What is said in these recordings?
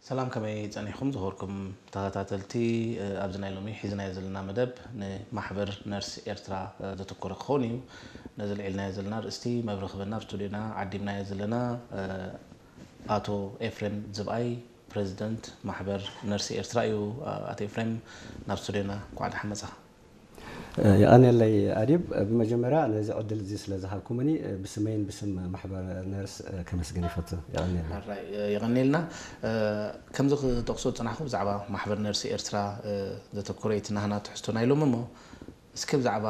ሰላም፣ ከመይ ጸኒሕኩም ዝኸበርኩም ተኸታተልቲ? ኣብዚ ናይ ሎሚ ሒዝናዮ ዘለና መደብ ንማሕበር ነርስ ኤርትራ ዘተኮረ ክኸውን እዩ። ነዚ ልዒልናዮ ዘለና ኣርእስቲ መብርሂ ክበና ኣብ ስቱድዮና ዓዲምናዮ ዘለና ኣቶ ኤፍሬም ዝብኣይ፣ ፕረዚደንት ማሕበር ነርስ ኤርትራ እዩ። ኣቶ ኤፍሬም፣ ናብ ስቱድዮና እንኳዕ ደሓን መጻኻ። የቐንየለይ ኣዲብ። ብመጀመርያ ነዚ ዕድል እዚ ስለ ዝሃብኩምኒ ብስመይን ብስም ማሕበር ነርስ ከመስግን ይፈቱ። የቐንየለይ። የቐንየልና። ከምዚ ክጠቕሶ ዝጸናሕኩ ብዛዕባ ማሕበር ነርስ ኤርትራ ዘተኮረ እቲ ናህና ትሕዝቶ ናይ ሎሚ እሞ፣ እስኪ ብዛዕባ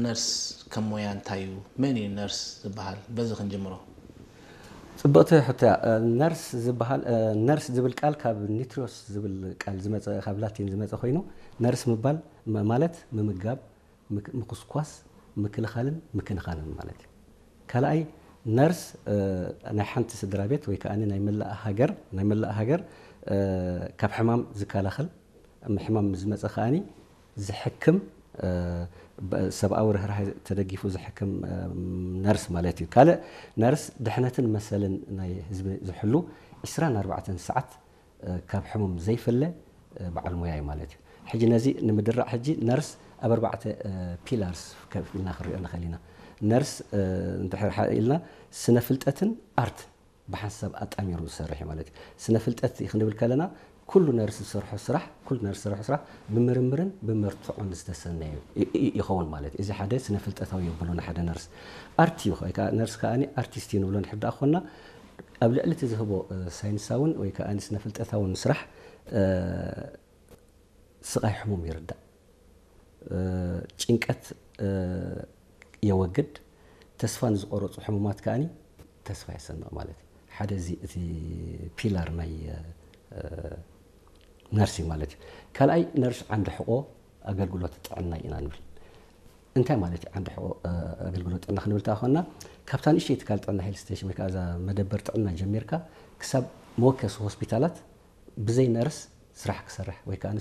ነርስ ከም ሞያ እንታይ እዩ? መን እዩ ነርስ ዝበሃል? በዚ ክንጅምሮ። ጽብቕቲ ሕቶ እያ። ነርስ ዝበሃል ነርስ ዝብል ቃል ካብ ኒትሪዮስ ዝብል ቃል ዝመጸ፣ ካብ ላቲን ዝመጸ ኮይኑ፣ ነርስ ምባል ማለት ምምጋብ፣ ምኩስኳስ፣ ምክልኻልን ምክንኻንን ማለት እዩ። ካልኣይ፣ ነርስ ናይ ሓንቲ ስድራ ቤት ወይ ከዓ ናይ መላእ ሃገር ናይ መላእ ሃገር ካብ ሕማም ዝከላኸል፣ ሕማም ዝመፀ ከዓኒ ዝሕክም፣ ሰብኣዊ ርህራሄ ተደጊፉ ዝሕክም ነርስ ማለት እዩ። ካልእ፣ ነርስ ድሕነትን መሰልን ናይ ህዝቢ ዝሕሉ ዕስራን ኣርባዕተን ሰዓት ካብ ሕሙም ዘይፍለ በዓል ሞያ እዩ ማለት እዩ። ሕጂ ነዚ ንምድራዕ ሕጂ ነርስ ኣብ ኣርባዕተ ፒላርስ ከፊልና ክንሪኦ ንኽእል ኢና። ነርስ እንድሕር ኢልና ስነ ፍልጠትን ኣርት ብሓንሳብ ኣጣሚሩ ዝሰርሕ እዩ ማለት እዩ። ስነ ፍልጠት ክንብል ከለና ኩሉ ነርስ ዝሰርሖ ስራሕ ኩሉ ነርስ ዝሰርሖ ስራሕ ብምርምርን ብመርትዖን ዝተሰነየ ይኸውን ማለት እዩ። እዚ ሓደ ስነ ፍልጠታዊ የብሎ ንሓደ ነርስ። ኣርት እዩ ኣርቲስት እዩ ንብሎ ንሕዳ ኮና ኣብ ልዕሊ እቲ ዝህቦ ሳይንሳውን ወይ ከዓ ስነ ፍልጠታውን ስራሕ ስቓይ ሕሙም ይርዳእ፣ ጭንቀት የወግድ፣ ተስፋ ንዝቆረፁ ሕሙማት ከዓኒ ተስፋ የሰንቕ ማለት እዩ። ሓደ እዚ እቲ ፒላር ናይ ነርሲንግ ማለት እዩ። ካልኣይ ነርስ ዓንዲ ሕቆ ኣገልግሎት ጥዕና ኢና ንብል። እንታይ ማለት እዩ ዓንዲ ሕቆ ኣገልግሎት ጥዕና ክንብል ተኾንና ካብታ ንእሽተይ ትካል ጥዕና ሄልት ስቴሽን ወይ ከዓ እዛ መደበር ጥዕና ጀሚርካ ክሳብ መወከሲ ሆስፒታላት ብዘይ ነርስ ስራሕ ክሰርሕ ወይ ከዓ